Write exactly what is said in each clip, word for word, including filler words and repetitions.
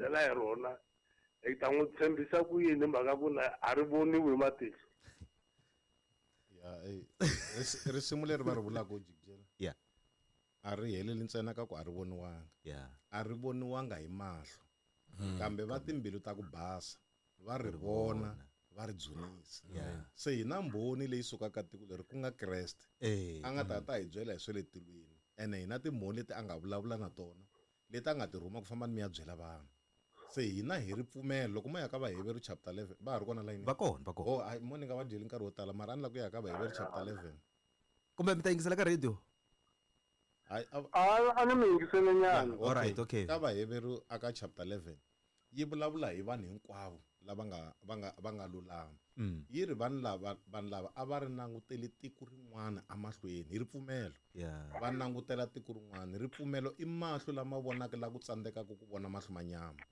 byela hi rona hi ta n'wi tshembisa ku yini mhaka ku na a ri voniwi hi matihlo. Ya eh risimu leri va ri vulaka jikijela. Yeah. A ri heleli ntsena ka ku a ri voniwanga. Yeah. A ri voniwanga hi mahlo. Kambe va timbilu ta ku basa va ri vona va ri dzunisa. Se hi na mbhoni leyi sukaka tiko leri ku nga Kreste. A nga ta ta hi byela hi swa le tilweni. Ene hi na timbhoni leti a nga vulavula na tona leti a nga ti rhuma ku famba ni mi ya byela vanhu. Se hina hi ri pfumelo loko mo ya ka Vaheveru chapter eleven va ha ri kona layini. Va kona, va kona. Oh, ai mo ni nga va dyeli nkarhi wo tala mara a ni lava ku ya ka Vaheveru chapter eleven. Kumbe mi ta yingisela ka radio? Hayi, a A, a ni mi yingisele nyana. Okay. All right, okay. Ka Vaheveru aka chapter eleven yi vulavula hi vanhu hinkwavo lava nga va nga va nga lulama. Mm. Yi ri vanhu lava vanhu lava a va ri langutele tiko rin'wana emahlweni hi ripfumelo. Yeah. Va langutela tiko rin'wana. Ripfumelo i mahlo lama vonaka la ku tsandzekaka ku vona mahlo ma nyama.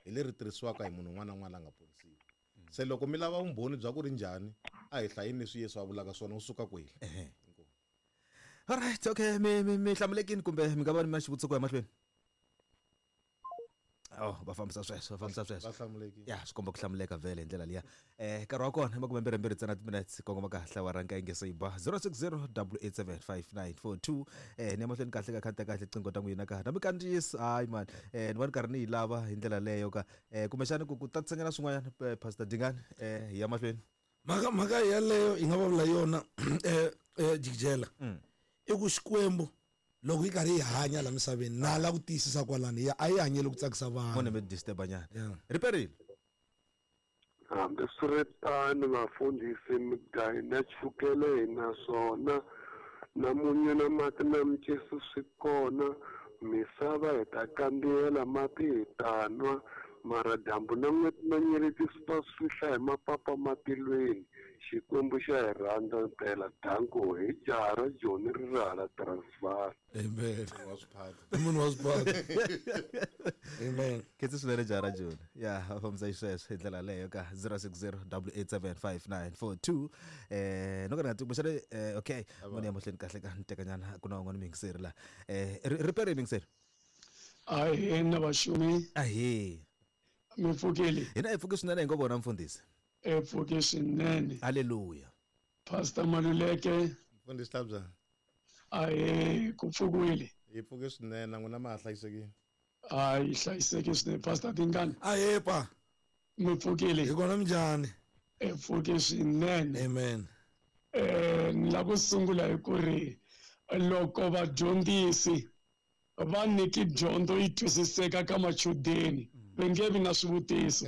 Hi leri tirhisiwaka hi munhu un'wana na un'wana la nga ponisiwa. Se loko mi lava vumbhoni bya ku ri njhani, a hi hlayeni leswi Yesu a vulaka swona u suka kwihi. Ehe. All right, okay, mi mi mi hlamulekini kumbe mi nga va ni na xivutiso ku ya mahlweni? Oh, va fambisa sweswo, va fambisa sweswo. Va hlamulekile. Ya, swi komba ku hlamuleka vhele hi ndlela liya. Eh, nkarhi wa kona i makume mbirhi mbirhi ntsena timinetse kongoma kahle awara nkaye nge se yi ba zero six zero double eight seven five nine four two. Eh, ni ya mahlweni kahle ka khanta kahle qingho ta n'wina ka. Na mi kandziyisa, hayi man. Eh, ni va ni karhi ni yi lava hi ndlela leyo ka. Eh, kumbexana ku ku tatisanyana swin'wanyana, eh, Pastor Dingani, eh, hi ya mahlweni. Mhaka mhaka yeleyo hi nga vulavula yona, eh, eh, jikijela. Mm. I ku Xikwembu loko yi karhi yi hanya la misaveni na la ku tiyisisa kwalani ya a yi hanyeli ku tsakisa vanhu. Mone mi disturb nyana. Yeah. Riperile. Hambiswiritano vafundhisi migayo na chukele hi na swona na munyu na mati na micisi swi kona misava hi ta kandziyela mati hi ta nwa mara dyambu na n'weti na nyeleti swi ta swi hla hi mapapa matilweni Xikwembu xa hi rhandza mpela danko hi jaha ra Joni ri ri hala Transvaal. Amen. Wa swiphata. I munhu wa swiphata. Amen. Khetsi swinene jaha ra Joni. Ya, va fambisa xisweswo hi ndlela leyo ka zero six zero double eight seven five nine four two. Eh, no ka ni nga tivi kumbexana, eh, okay, moni ya mahlweni kahle ka ni tekanyana ku na un'wana muyingiseri la. Eh, ri-, ripere muyingiseri. Ahee, na vaxumi. Ahee. Mi pfukile? Hina hi pfuke swinene hi ngo vona mfundhisi. E pfuke swinene. Hallelujah. Pastor Maluleke. Mfundhisi Tlabya. Ahee, ku pfukiwile. Hi pfuke swinene, na n'wina ma ha hlayisekile? Hayi, hlayisekile swinene. Pastor Dingani. Ahee, pa. Mi pfukile? Hi kona minjhani? E pfuke swinene. Amen. Eh, ni lava ku sungula hi ku ri loko vadyondzisi va nyiki dyondzo yi twisiseka ka machudeni va nge vi na swivutiso.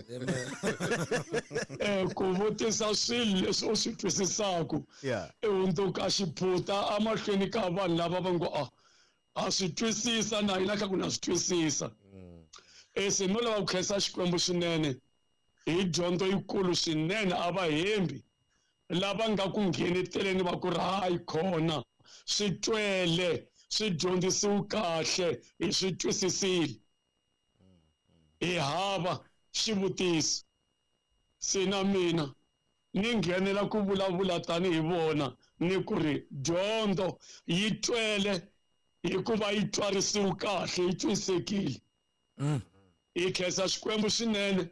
Eh, ku vutisa swilo leswi u swi twisisaka Yeah. i hundzuka xiphuta emahlweni ka vanhu lava va ngo a a swi twisisa na hina kha ku na swi twisisa. Eh, se no lava ku khensa Xikwembu swinene hi dyondzo yikulu swinene a va hembi lava nga ku ngheneteleni va ku ri hayi khona swi twele swi dyondzisiwe kahle hi swi twisisile hi hava xivutiso. Se na mina ni nghenela ku vulavula tanihi vona ni ku ri dyondzo yi twele hikuva yi twarisiwe kahle yi twisisekile. Mm. Hi khensa Xikwembu swinene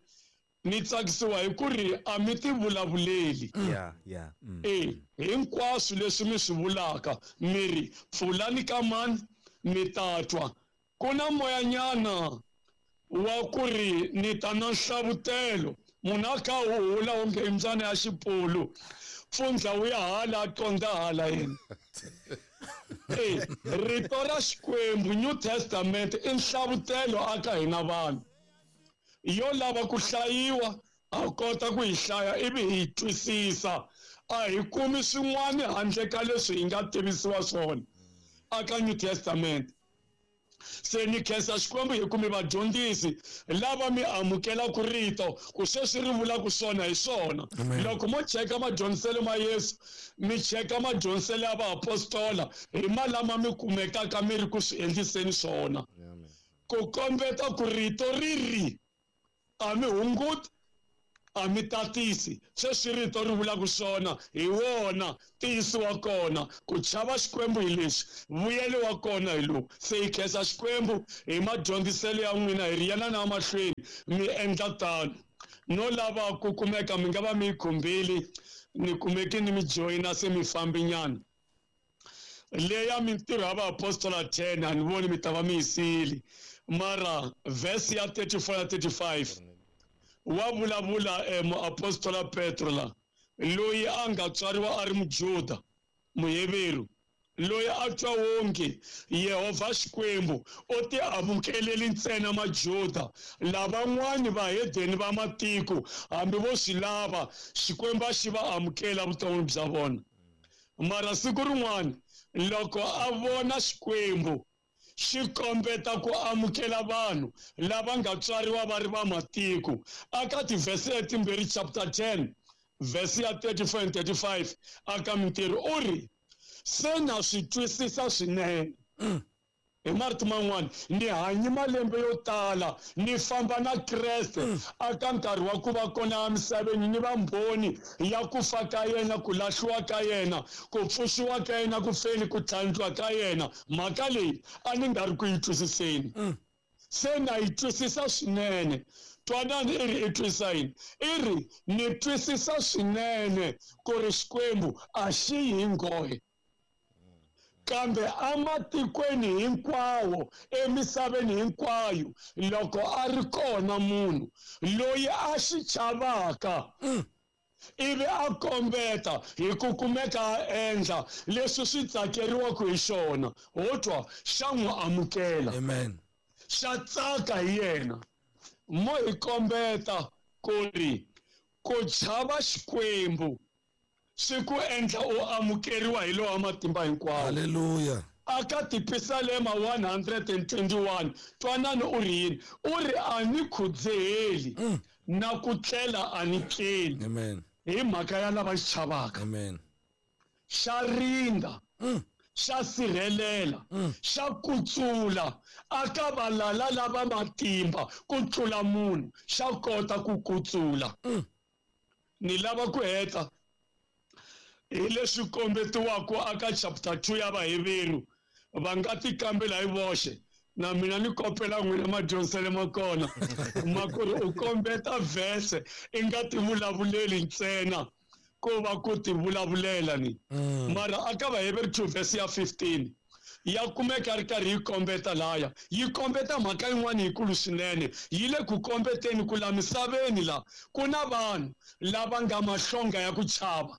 ni tsakisiwa hi ku ri a mi ti vulavuleli. Yeah, yeah. Mm. Eh, hinkwaswo leswi mi swi vulaka mi ri pfulani ka mani mi ta twa. Ku na moyanyana wa ku ri ni ta na nhlavutelo munhu a kha a huhula onge i mbyana ya xipulu pfundla wu ya hala a qondza hala yena. Eh, rito ra Xikwembu New Testament i nhlavutelo aka hina vanhu yo lava ku hlayiwa a kota ku yi hlaya ivi hi yi twisisa a hi kumi swin'wana handle ka leswi hi nga tivisiwa swona aka New Testament. Se ni khensa Xikwembu hi ku mi vadyondzisi lava mi amukelaka rito ku sweswi ri vulaka swona hi swona. Amen. Loko mo cheka madyondziselo ma Yesu mi cheka madyondziselo ya vaapostola hi malama mi kumekaka mi ri ku swi endliseni swona. Amen. Ku kombeta ku rito ri ri a mi hunguti A mi tatisi sweswi rito ri vulaka swona hi wona ntiyiso wa kona ku chava Xikwembu hi leswi vuyelo wa kona hi lowu se hi khensa Xikwembu hi madyondziselo ya n'wina hi ri yana na mahlweni mi endla tano no lava ku kumeka mi nga va mi yi khumbile ni kumeki ni mi joyina se mi fambinyana leya mintirho ya vaapostola ten a ni voni mi ta va mi yi siyile mara verse ya thirty-four na thirty-five wa vulavula eh, muapostola Petro la loyi a nga tswariwa a ri Mujuda Muheveru loyi a twa wonge Yehovha Xikwembu o ti amukeleli ntsena Majuda lavan'wani vahedeni va matiko hambi vo swi lava Xikwembu a xi va amukela vuton'wini bya vona mara siku rin'wana loko a vona Xikwembu xi kombeta ku amukela vanhu lava nga tswariwa va ri va matiko aka tivhese letimbirhi chapter ten verse ya thirty-four and thirty-five aka mintirho u ri se na swi twisisa swinene hi marito man'wana ni hanyi malembe yo tala ni famba na Kreste aka nkarhi wa ku va kona emisaveni ni va mbhoni ya ku fa ka yena ku lahliwa ka yena ku pfuxiwa ka yena ku feni ku tlhandliwa ka yena mhaka leyi a ni nga ri ku yi twisiseni se na yi twisisa swinene twanani i ri i twisisa yini i ri ni twisisa swinene ku ri Xikwembu a xi yi hi nghohe kambe amatikweni hinkwawo emisaveni hinkwayo loko a ri kona munhu loyi a xi chavaka ivi a kombeta hi ku kumeka a endla leswi swi tsakeriwaka hi xona ho twa xa n'wi amukela amen xa tsaka hi yena mo hi kombeta ku ri ku chava Xikwembu swi ku endla u amukeriwa hi lowa matimba hinkwawo haleluya aka tipisalema one hundred and twenty-one twanani u ri yini u ri a ni khudzeheli na ku tlela a ni tleli amen hi mhaka ya lava xi chavaka amen xa rinda xa sirhelela xa kutsula aka valala lava matimba ku tlula munhu xa kota ku kutsula ni lava ku heta hi leswi kombetiwaka aka chapter two ya Vaheveru va nga ti kambela hi voxe na mina ni kopela n'wina madyondziselo ma kona ma ku ri u kombeta verse i nga ti vulavuleli ntsena ko va ku ti vulavulela ni mara aka Vaheveru two verse ya fifteen ya kumeka ri karhi yi kombeta laya yi kombeta mhaka yin'wana yikulu swinene yi le ku kombeteni ku la misaveni la ku na vanhu lava nga mahlonga ya ku chava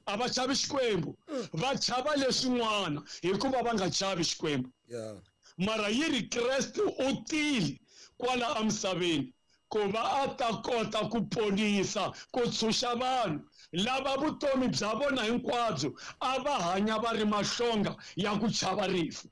a va chavi Xikwembu va chava leswin'wana hikuva va nga chavi Xikwembu yeah mara yi ri Kreste u tile kwala emisaveni ku va a ta kota ku ponisa ku tshunxa vanhu lava vutomi bya vona hinkwabyo a va hanya va ri mahlonga ya ku chava rifu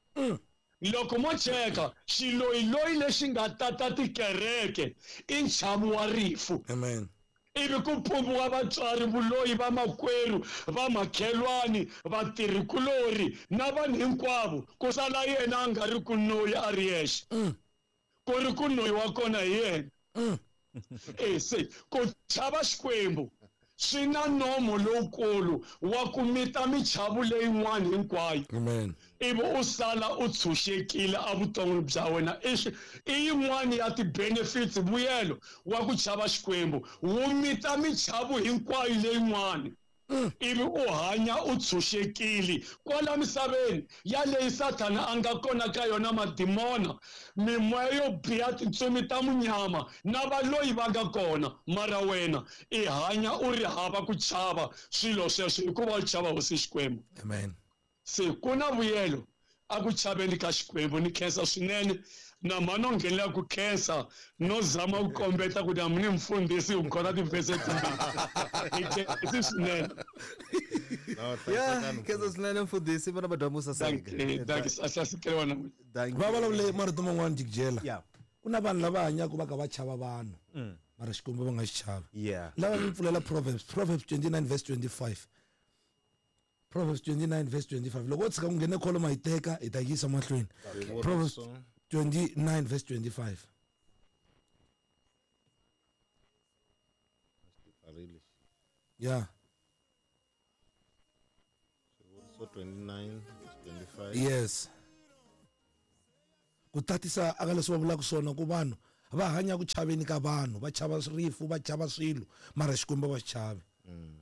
loko mo cheka xiloyiloyi lexi nga tata tikereke i nchavu wa rifu amen ivi ku pumbiwa vatswari vuloyi va makwerhu va makhelwani vatirhikulori na vanhu hinkwavo ku sala yena a nga ri ku noyi a ri yexe ku ri ku noyi wa kona hi yena e se ku chava Xikwembu swi na nomo lowukulu wa ku mita michavu leyin'wana hinkwayo amen ivi u sala u tshunxekile evuton'wini bya wena i i yin'wani ya ti-benefits vuyelo wa ku chava Xikwembu wu mita michavu hinkwayo leyin'wani ivi u hanya u tshunxekile kwala misaveni ya leyi Sathana a nga kona ka yona madimona mimoya yo biha tintsumi ta munyama na valoyi va nga kona mara wena i hanya u ri hava ku chava swilo sweswo hikuva u chava hosi Xikwembu amen se ku na vuyelo a ku chaveni ka Xikwembu ni khensa swinene na mhani o nghenelela ku khensa no zama ku kombeta ku na ni mfundhisi u khona tivhese timbirhi hi khensi swinene ya khensa swinene mfundhisi vana va sasekelewa na va vulavule marito man'wana jikijela Yeah. ku na vanhu lava hanyaka va ka va chava vanhu mara Xikwembu va nga xi chavi yeah lava mi pfulela Proverbs Proverbs twenty-nine verse twenty-five Proverbs twenty-nine verse twenty-five loko u tshika ku nghene kholo ma yi teka hi ta yisa mahlweni Proverbs twenty-nine verse twenty-five Tsarile. Yeah. Swivuriso twenty-nine verse twenty-five. Yes. Ku tatisa aka leswi va vulaka swona ku vanhu va hanya ku chaveni ka vanhu, va chava rifu, va chava swilo, mara Xikwembu va xi chavi. Mm.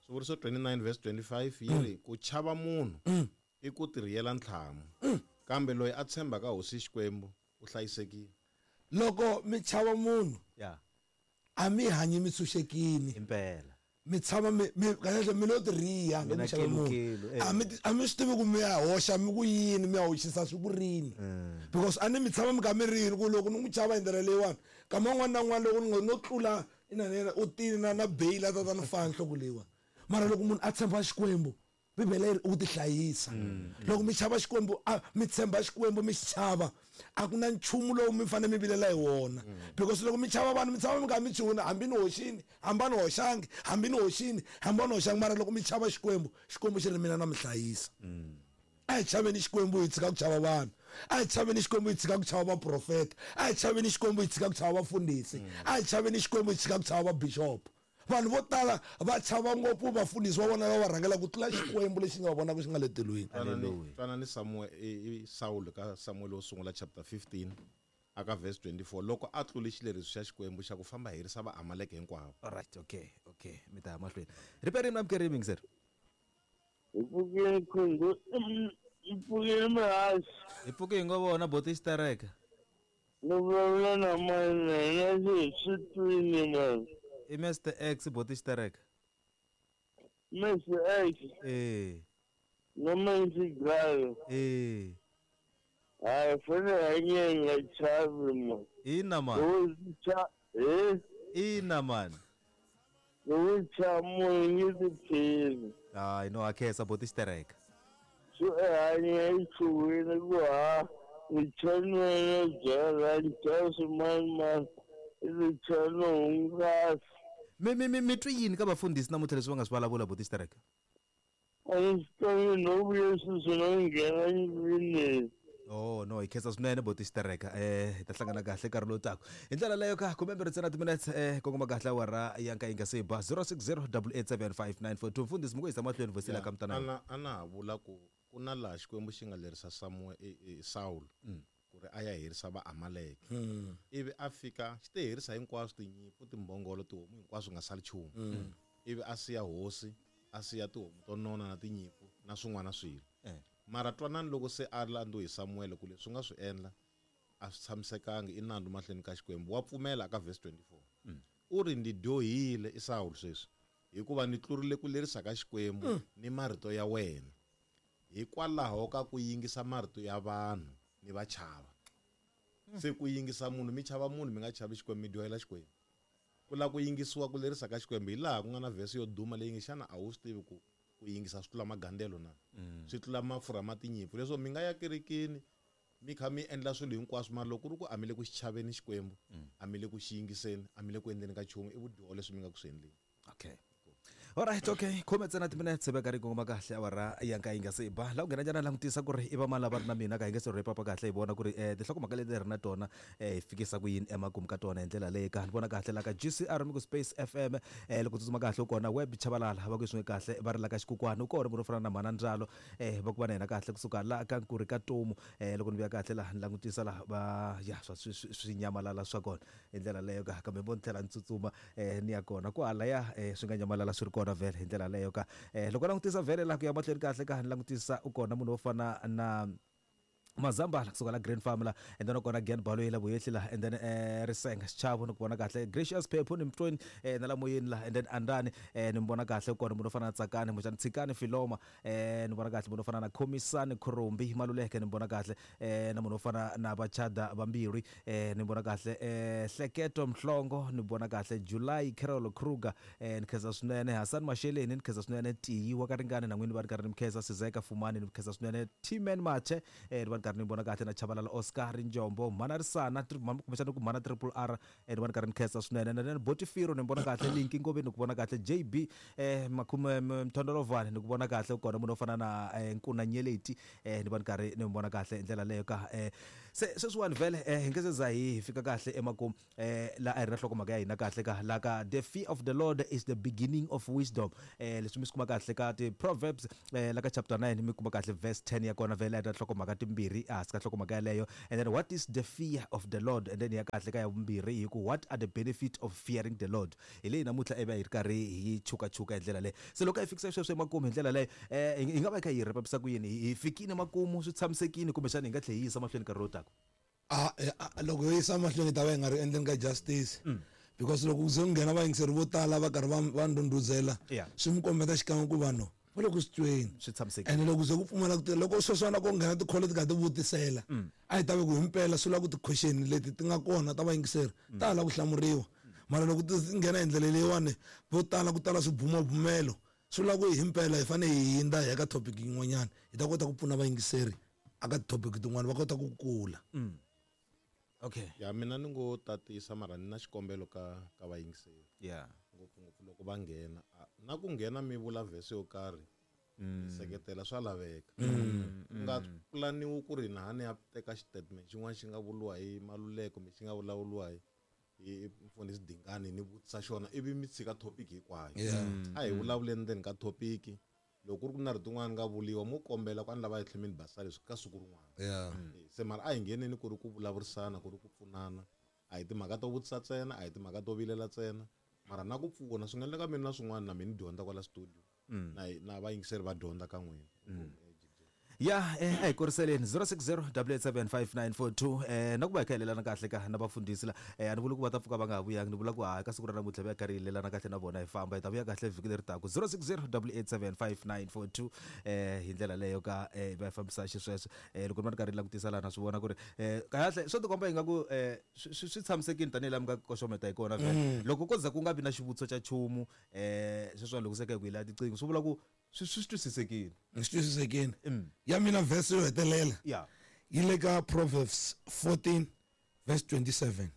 Swivuriso twenty-nine verse twenty-five yi ri ku chava munhu i ku tirhiyela ntlhamu, kambe loyi a tshembaka hosi Xikwembu u hlayisekile. Loko mi chava munhu, yeah, a mi hanyi mi tshunxekile. Impela. Mi tshama mi mi kahle mi lo tirhiya mi chava munhu. A mi a mi swi tivi ku mi ya hoxa mi ku yini, mi ya hoxisa swi ku rini. Because a ni mi tshama mi ka mi rini ku loko ni n'wi chava hi ndlela leyiwani, kama un'wana na un'wana loko ni no tlula ina na u tini na na bail a ta ta ni fana nhloko leyiwani. Mara loko munhu a tshemba Xikwembu, Bibele yi ri u tihlayisa. Loko mi chava Xikwembu, mi tshemba Xikwembu, mi xi chava, a ku na nchumu lowu mi fanele mi vilela hi wona. Because loko mi chava vanhu, mi tshama mi kha mi chuhuna, hambi ni hoxini, hambi a ni hoxangi, hambi ni hoxini, hambi a ni hoxangi. Mara loko mi chava Xikwembu, Xikwembu xi ri mina na mi hlayisa. A hi chaveni Xikwembu hi tshika ku chava vanhu. A hi chaveni Xikwembu hi tshika ku chava vaprofeta. A hi chaveni Xikwembu hi tshika ku chava vafundhisi. A hi chaveni Xikwembu hi tshika ku chava vabishop. Vanhu vo tala va chava ngopfu vafundhisi va vona lava va rhangela ku tlula Xikwembu lexi nga va vonaka xi nga le tilweni. Twana ni Samuel i Saul ka Samuel wo sungula chapter fifteen aka verse twenty-four loko a tlule xileriso xa Xikwembu xa ku famba herisa va Amaleke hinkwavo. All right, okay, okay, mi ta mahlweni. Riperi mi namukeri mingi sir. Hi pfukile khungu, hi pfukile mihasi. Hi pfuke hi ngo vona boti xitereka. Ni vulavula na mani na swi swi twini mani. I Mister X boti xitereka. Mister X. Eh. No manzi gayo. Eh. Hayi fane hanye nga chavi man. Ina man. Cha eh. Ina man. Lo cha mo ngi tiphini. Hayi no akhetsa boti xitereka. So hanye chuwini ku ha ni chanwele byela ni chava man man. Ni chano hungasa. Mi mi mi mi twi yini ka vafundhisi namuntlha leswi va nga swi vulavula boti xitereka? A ni swi tivi no vuye sweswi no nghena ndlwini. Oh no, hi khensa swinene boti xitereka. Eh hi ta hlangana kahle nkarhi lowu taka. Hi ndlela leyo ka khume mbirhi ntsena timinetse eh kongoma kahle awara ya nka yi nga se ba zero six zero double eight seven five nine four two. Mfundhisi mi ku yisa mahlweni vhesi la ka mutana. Ana ana ha vula ku ku na laha Xikwembu xi nga lerisa Samuel Saul ku ri a ya herisa va Amaleke. Ivi a fika xi te herisa hinkwaswo tinyimpfu, timbhongolo, tihomu hinkwaswo nga sali nchumu. Ivi a siya hosi, a siya tihomu to nona na tinyimpfu na swin'wana swilo. Mara twanani loko se a landziwe hi Samuel ku leswi nga swi endla a swi tshamisekanga i nandzu mahlweni ka Xikwembu. Wa pfumela ka verse twenty-four. U ri ndi dyohile i Saul sweswi hikuva ni tlurile ku lerisa ka Xikwembu ni marito ya wena hikwalaho ka ku yingisa marito ya vanhu ni va chava. Se ku yingisa munhu mi chava munhu mi nga chavi Xikwembu mi dyohela Xikwembu. Ku lava ku yingisiwa ku lerisa ka Xikwembu hi laha ku nga na verse yo duma leyi nge xana a wu swi tivi ku ku yingisa swi tlula magandelo na swi tlula mafurha ma tinyimpfu. Leswo mi nga ya kerekeni mi kha mi endla swilo hinkwaswo mara loko ku ri ku a mi le ku xi chaveni Xikwembu, a mi le ku xi yingiseni, a mi le ku endleni ka nchumu i vudyoho leswi mi nga ku swi endleni. Okay. All right, okay. Khume ntsena timinetse veka ri kongoma kahle awara ya nka yi nga se ba. La ku nghena njhani langutisa ku ri i va mali lava ri na mina ka hi nge se wrap up kahle hi vona ku ri eh tinhlokomhaka leti hi ri na tona eh hi fikisa ku yini emakumu ka tona hi ndlela leyi ka ni vona kahle la ka G C R mi ku Space F M eh loko tsutsuma kahle u kona web Chabalala va ku swin'we kahle va ri la ka Xikukwani u kona munhu fana na Mhana Ndzalo eh va ku va na yena kahle kusuka la ka Nkuri ka Tomu eh loko ni vuya kahle la ni langutisa la va ya swa swi nyamalala swa kona hi ndlela leyo ka kambe vo ni tlhela ni tsutsuma eh ni ya kona kwala ya eh swi nga nyamalala swi ri kona vhele hi ndlela leyo ka eh loko langutisa vhele la ku ya mahlweni kahle ka ni langutisa u kona munhu wo fana na Mazambala kusuka la Green Farm la and then kona Gen Balo la Vuyehli la and then eh Risenga Xichavo ni ku vona kahle Gracious Phephu ni Mtweni eh na la moyeni la and then Andani eh ni vona kahle kona munhu fana na Tsakani Muxani Tshikani Filoma eh ni vona kahle munhu fana na Khomisani Khurumbi Maluleke ni vona kahle eh na munhu fana na Vachada Vambirhi eh ni vona kahle eh Hleketo Mhlongo ni vona kahle July Carol Kruger eh ni khensa swinene Hassan Masheleni ni khensa swinene Tiyi wa ka Ringani na n'wini va ri karhi ni mkhensa Sizeka Fumani ni khensa swinene Timen Mache eh ni karhi ni vona kahle na Chabalala Oscar Njombo mhana Risana kumbexana ku mhana Triple R eh ni vona karhi ni khensa swinene na Botifiro ni vona kahle Linki Ngobeni ni ku vona kahle J B eh Makhume Mthondolovani ni ku vona kahle kona munhu o fana na Nkuna Nyeleti eh ni vona karhi ni vona kahle hi ndlela leyo ka eh se sweswiwani vhele eh hi nge se za hi fika kahle emakumu eh la a hi ri na nhlokomhaka ya hina kahle ka la ka the fear of the Lord is the beginning of wisdom eh leswi mi swi kuma kahle ka ti Proverbs eh la ka chapter nine mi kuma kahle verse ten ya kona vhele a ta nhlokomhaka timbirhi ehansi ka nhlokomhaka yaleyo. And then what is the fear of the Lord, and then ya kahle ka ya vumbirhi hi ku what are the benefit of fearing the Lord. Hi leyi namuntlha ivi hi ri karhi hi chukachuka hi ndlela leyo. Se loko hi fikisa sweswo emakumu hi ndlela leyo eh hi nga va hi kha hi rhepisa ku yini hi fikile makumu swi tshamisekile kumbexana hi nga tlhe hi yisa mahlweni nkarhi lowu taka? A loko hi yisa mahlweni ta va hi nga ri endleni ka justice because loko ku ze ku nghena vayingiseri vo tala va karhi va va ndhundhuzela swi mi kombeta xikan'we ku vanhu va le ku swi tweni swi tshamisekile. Ene loko ze ku pfumala ku loko sweswiwana ko nghena tikholo ti kha ti vutisela a hi ta ve ku himpela swi lava ku ti-question leti ti nga kona ta vayingiseri ta hala ku hlamuriwa. Mara loko ti nghena hi ndlela leyiwani vo tala ku tala swibumabumelo swi lava ku hi himpela hi fanele hi hindza hi ya ka topic yin'wanyana hi ta kota ku pfuna vayingiseri aka topic tin'wana va kota ku kula. Okay. Ya mina ni ngo tatisa mara ni na xikombelo ka ka vayingiseri. Yeah. Ngopfungopfu loko va nghena na ku nghena mi vula verse yo karhi mi seketela swa laveka. Ku nga pulaniwi ku ri na hani ya teka xitatimende xin'wana xi nga vuriwa hi Maluleke kumbe xi nga vulavuriwa hi hi mfundhisi Dingani ni vutisa xona ivi mi tshika topic hinkwayo. A hi vulavuleni ndzeni ka topic. Loko ku ri ku na rito rin'wana nga vuriwa mo kombela ku a ni lava hi tlhela mi ni basisa leswi ka siku rin'wana. Se mara a hi ngheneni ku ri ku vulavurisana ku ri ku pfunana. A hi timhaka to vutisa ntsena, a hi timhaka to vilela ntsena, mara na ku pfuna swi nga endleka mina na swin'wana na mina ni dyondza kwala studio na na vayingiseri va dyondza ka n'wina. Ya eh a hi kuriseleni zero six zero double eight seven five nine four two eh na ku va hi kha hi lelana kahle ka na vafundhisi la eh a ni vuli ku va ta pfuka va nga ha vuyangi ni vula ku hayi ka siku ra namuntlha va ya karhi hi lelana kahle na vona hi famba hi ta vuya kahle vhiki leri taka zero six zero double eight seven five nine four two eh hi ndlela leyo ka eh va fambisa xisweswo eh loko ni va ni karhi ni langutisa laha na swi vona ku ri eh kahle swo tikomba ingaku eh swi swi tshamisekile tanihi laha mi nga koxometa hi kona vhele loko ko za ku nga vi na xivutiso xa nchumu eh sweswiwani loko se ka hi ku hi laya tiqingho swi vula ku swi swi twisisekile. Swi twisisekile. Ya mina verse yo hetelela yeah yi le ka Proverbs fourteen verse twenty-seven.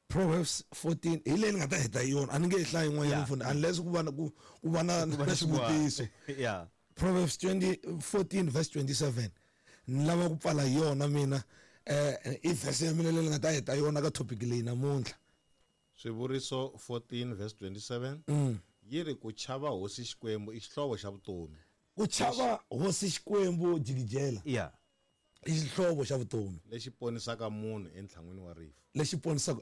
Proverbs fourteen hi leyi ni nga ta heta hi yona a ni nge yi hlayi yin'wanyana mfundhi unless ku va na ku ku va na na xivutiso. Yeah. Proverbs twenty fourteen verse twenty-seven ni lava ku pfala hi yona mina eh i verse ya mina leyi ni nga ta heta yona ka topic leyi namuntlha. Swivuriso fourteen verse twenty-seven yi ri ku chava hosi Xikwembu i xihlovo xa vutomi. Ku chava hosi Xikwembu jikijela. Yeah. I xihlovo xa vutomi. Lexi ponisaka munhu entlhan'wini wa rifu. Lexi ponisaka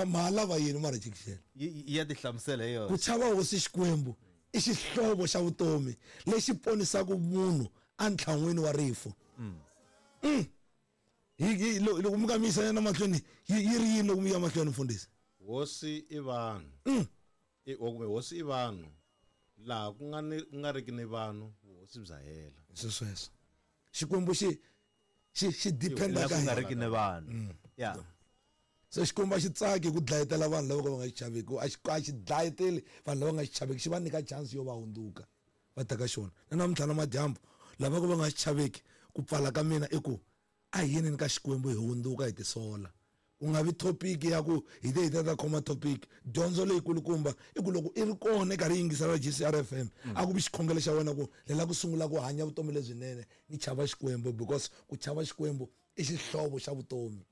ma lava yini mara jikijela? Yi ya tihlamusela hi yona. Ku chava hosi Xikwembu i xihlovo xa vutomi lexi ponisaka munhu entlhan'wini wa rifu. Mm. Hi loko mi nga mi yisa na mahlweni yi ri yini loko mi ya mahlweni mfundhisi? Hosi i vanhu. I kumbe hosi i vanhu laha ku nga ni ku nga riki ni vanhu vuhosi bya hela. Sweswo. Xikwembu xi xi xi dependa ka ku nga riki ni vanhu. Yeah. Se Xikwembu a xi tsaki ku dlayetela vanhu lava va nga xi chaveki, a xi a xi dlayeteli vanhu lava nga xi chaveki, xi va nyika chance yo va hundzuka va ta ka xona. Na namuntlha na madyambu lava va nga xi chaveki ku pfala ka mina i ku a hi yini ka Xikwembu hi hundzuka hi tisola. Ku nga vi topic ya ku hi te hi ta ta khoma topic dyondzo leyikulukumba i ku loko i ri kona i karhi yingisela G C R F M a ku vi xikhongelo xa wena ku lela ku sungula ku hanya vutomi lebyinene ni chava Xikwembu because ku chava Xikwembu i xihlovo xa vutomi.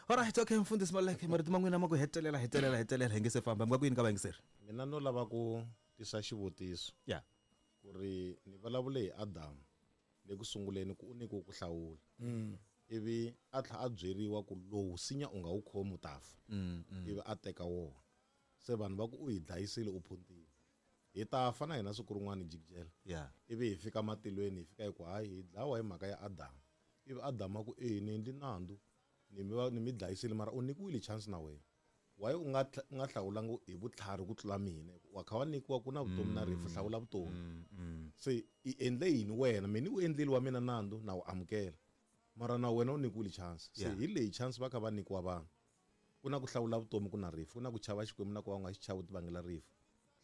Alright, okay mfundhisi Maluleke marito man'wina ma ku hetelela hetelela hetelela hi nge se famba mi nga ku yini ka vayingiseri? Mina no lava ku tisa xivutiso. Yeah. Ku ri ni vulavule hi Adamu le ku sunguleni ku u nyikiwe ku hlawula. Ivi a tlhela a byeriwa ku lowu sinya u nga wu khomi u ta fa. Ivi a teka wona. Se vanhu va ku u hi dlayisile u phuntile. Hi ta fa na hina siku rin'wana jikijela. Yeah. Ivi hi fika matilweni hi fika hi ku hayi hi dlawa hi mhaka ya Adamu. Ivi Adamu a ku e ni endli nandzu ni mi ni mi dlayisile mara u nyikiwile chance na wena. Why u nga u nga hlawulanga hi vutlhari ku tlula mina? Wa kha wa nyikiwa ku na vutomi na rifu hlawula vutomi. Se i endle yini wena? Mina u endlile wa mina nandzu na wu amukela. Mara na wena u nyikiwile chance. Se hi leyi chance va kha va nyikiwa vanhu. Ku na ku hlawula vutomi ku na rifu, ku na ku chava Xikwembu na ku va u nga xi chavi u ti vangela rifu.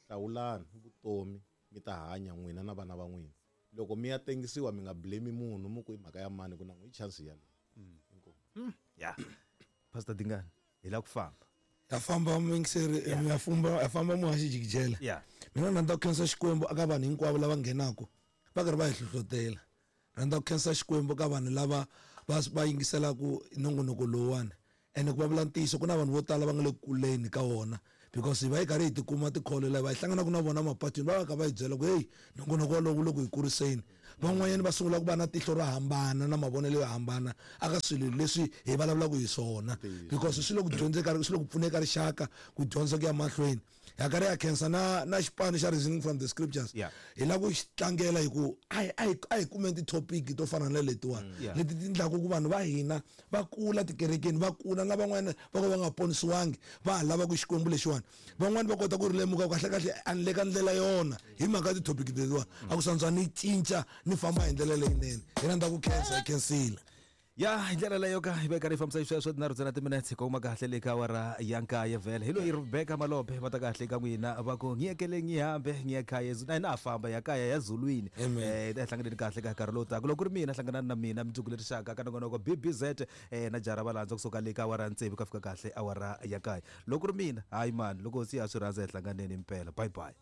Hlawulani vutomi mi ta hanya n'wina na vana va n'wina. Loko mi ya tengisiwa mi nga blame munhu mu ku i mhaka ya mani ku na n'wi chance ya leyi. Ya. Pastor Dingani, hi la ku famba. Ya famba mingiseri ya famba ya famba muhaxi jikijela. Mina na nda khensa Xikwembu aka vanhu hinkwavo lava nghenako va karhi va hi hlohlotela. Rhandza ku khensa Xikwembu ka vanhu lava va va yingiselaka nongonoko lowuwani. Ene ku vulavula ntiyiso ku na vanhu vo tala va nga le kuleni ka wona because hi va hi karhi hi tikuma tikholo lava hi hlanganaka na vona mapatwini va va kha va hi byela ku hey nongonoko wolowo wu le ku hi kuriseni. Van'wanyana va sungula ku va na tihlo ro hambana na mavonelo yo hambana aka swilo leswi hi vulavulaka hi swona because swi le ku dyondzeka swi le ku pfuneka rixaka ku dyondza ku ya mahlweni. Ha karhi ya khensa na na xipano xa Reasoning from the Scriptures. Hi lava ku xi tlangela hi ku a hi a hi a hi kumeni ti-topic to fana na letiwani leti ti endlaka ku vanhu va hina va kula tikerekeni va kula na van'wana va ka va nga ponisiwangi va ha lava ku Xikwembu lexiwani. Van'wani va kota ku ri lemuka kahle kahle a ni le ka ndlela yona hi mhaka ya ti-topic letiwani a ku santswa ni cinca ni famba hi ndlela leyinene. Hi rhandza ku khensa hi khensile. Ya hi ndlela leyo ka hi veka ri fambisa xisweswo tinharhu ntsena timinetse hi kongoma kahle le ka awara ya nkaye vhele. Hi loyi Rebecca Malope va ta kahle ka n'wina va ku ngiyekele ngihambe ngiye khaya na hina ha famba ya kaya ya zulwini. Eh hi hlanganeni kahle ka nkarhi lowu taka. Loko ku ri mina hlanganani na mina mundzuku leri xaka ka nongonoko B B Z eh na jara valandza kusuka le ka awara ya tsevu ka fika kahle awara ya kaye. Loko ku ri mina hayi mani loko hosi ya swi rhandza hi hlanganeni impela. Bye bye.